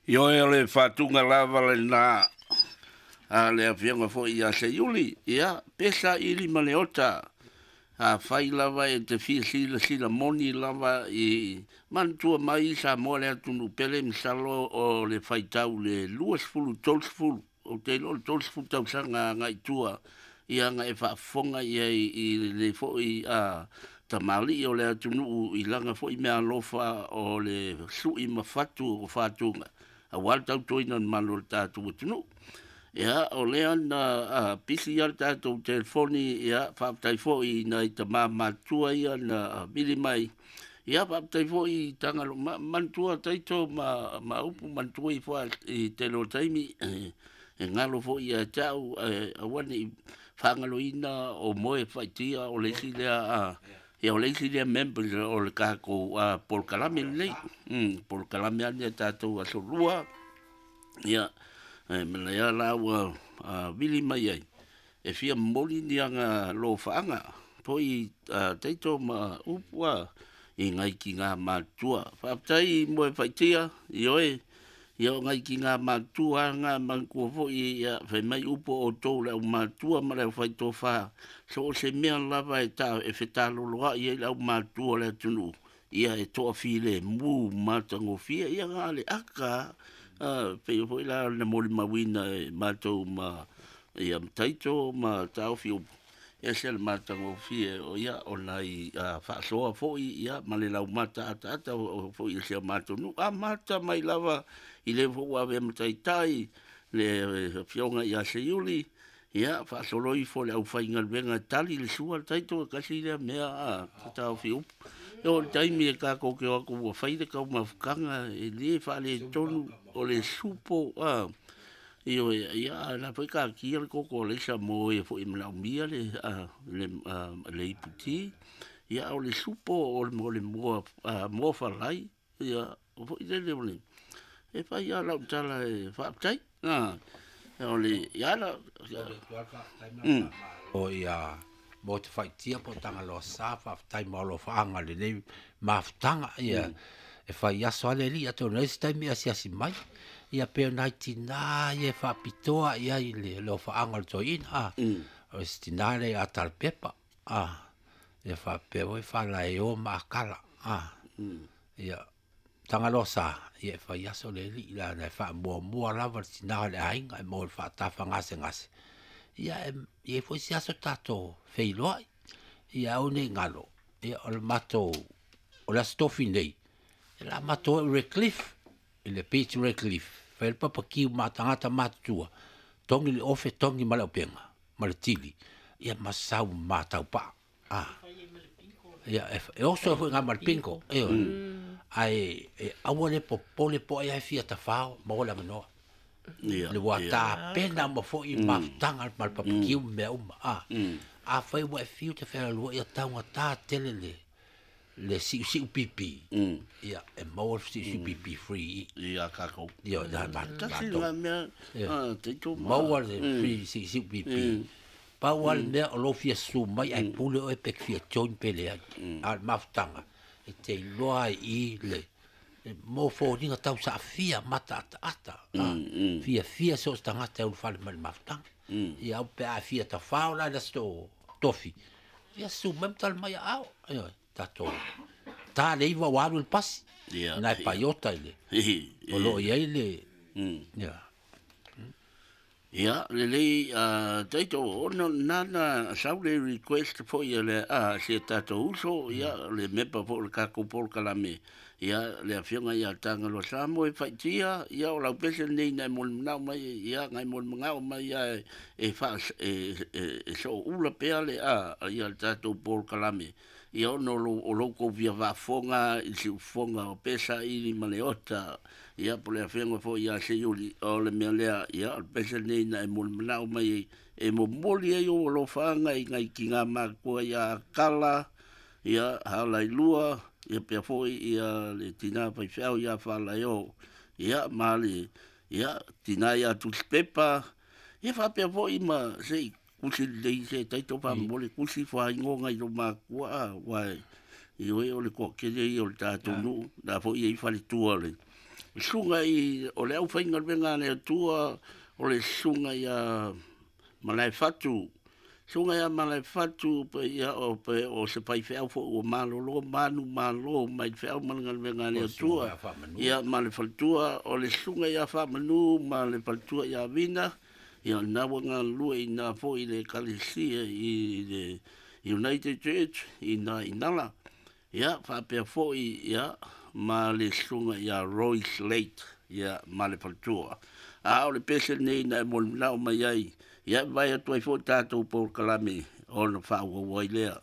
Ioe o le faatuga lava lena a le afioga foi ia Seiuli, ia, pe saili ma le ota, afai lava e te fia silasila moni lava i manatua mai Samoa le atunuu pele, masalo o le faitau le 20, 30, ou te iloa o le 30 tausaga agai i tua, ia na e faafofoga i ai i le foi tamalii o le atunuu i lana foi meaalofa o le sui ma fatu o fatuga aua le tautuaina o le malu o le tatou atunuu. Ia, o lea na pisi lava le tatou telefoni, ia, faafetai foi i nai tama matutua ia na vili mai. Ia, faafetai foi i Tagaloa, manatua Taito ma upu, manatua ifo i tele o taimi, e galo foi ia te au, aua ne i faagaloina o moe faaitia o le isi lea, ia o le isi lea members o le tatou polokalame lenei. Polokalame lava lenei a tatou Aso Lua. Ia, ma lea la ua vili mai ai, e fia momoli ni aga lofaaga foi Taito ma upu i nai tina matutua. Faafetai moe faaitia, ioe, ia o nai tina matutua lava na manatua foi, ia, fai mai upu o outou le aumatua ma le aufaitofa, so o se mea lava e fetaloloai ai le aumatua o le atunuu, ia e toafilemu matagofie, ia na o le ata lava, pei foi la na molimauina e matou ma ia Taito ma Taofi upu, ese le matagofie o ia o nai faasoa foi, ia, ma le laumata ataata o foi i si o matou nuu. Amata mai lava i le foi ua avea ma taitai le afioga ia Seiuli, ia faasolo ifo le aufaigaluega e tali le sua le Taito, e tasi lea mea Taofi upu. E oo i le taimi e tatou te o atu ua fai le taumafataga, e le faaletonu o le supo, ioe, ia la foi taatia le koko alaisa mo e foi e manaomia le iputi, ia o le supo o le moa falai, ia, o foi lele o le, e fai lava lau tala e faafetai. O le, ia la. O ia mo te faaitia po o Tagaloa sa, faafetai mo alofaaga lenei mafutaga, ia e fai aso ale alii atonu ai se taimi e asiasi mai, ia pe o nai tinā ia e faapitoa i ai le alofaaga o le toeaina, o se tinā lea ia Talepepa, ia faapea foi Faalaeo ma Akala, ia Tagaloa sa, ia e fai aso le alii la e faamuamua lava le tinā o le aiga e maua le faatafagasegase, ia e i ai foi se aso tatou feiloai, ia aua ne i galo, ia o le matou, o le aso tofi nei, e la matou ai Redcliffe, i le beach Redcliffe, fai le papakiu ma tagata matutua, togi le ofe, togi ma le aupenga, ma le tili, ia ma sau ma taupaa. Ia, e oso foi ngā ma le pinko, e ai, e aua le popole po ai fia tafao, ma ola manoa. Le ua tapena ma foi mafutaga ma le papakiu mea uma. A fai ua e fiu te whea ia taunga tā tele le siu siu pipi. Ia, e maua le siu siu pipi free. Ia kākou. Ia, ia, ma, Tasi ngā mea, Taito ma. Maua le free siu siu pipi. Pau le mea o lo fia su mai ai pule o e pe fia join pe le ai. A le mafutaga, e te iloa ai i le mo fōninga tau sa fia mata ata ata. Fia fia so tangata e ulufale mai le mafutaga. Ia au pe a fia tafao la le aso tofi. Ia su mai ma tala mai ao. Ia, tatou. Tā le iwa o alu le pasi. Nai paiota i le. O lo o i ai le. Ia. Ia, lelei, Taito, ona nana sau le request foi a le si e tatou uso, ia, le mepa foi o le tatou polokalame, ia, le afioga ia Tagaloa Samo e faaitia, ia, o lau pese lenei na e molimau mai, ia, na e molimau mai ia e, fa, e sooula pea le, ia le tatou polokalame. Ia ona o lo kou fia faafofoga i siufofoga o pesa ili ma le ota, ia po le afioga foi ia Seiuli, o le mea lea, ia o le pese lenei na e molimau mai e momoli ai ou alofaga i nai tina matua ia Kala, ia Halailua, ia pea foi ia le tina faifeau ia Faalaeo, ia ma le, ia tina ia Tusipepa, ia faapea foi ma sei kusi lelei se Taito faamolemole kusi faaigoga i lo matua ua ioe o le toatele ia o le tatou nuu la foi e i faletua le Susuga i o le aufaigaluega a le Atua, o le susuga ia Malaefatu, susuga ia Malaefatu pe ia o pe o se faifeau foi ua malolo manumalo mai le feau ma le galuega a le Atua. Ia ma le faletua, o le susuga ia Faamanu ma le faletua ia Vina, ia na ua galulue i ina foi i le ekalesia i le United Church i ina i Nala. Ia faapea foi ia ma le susuga ia Royce Late ia ma le faletua. A o le pese lenei na e molimolao mai ai, ia e vaai atu ai foi tatou polokalame ona faaauau ai lea.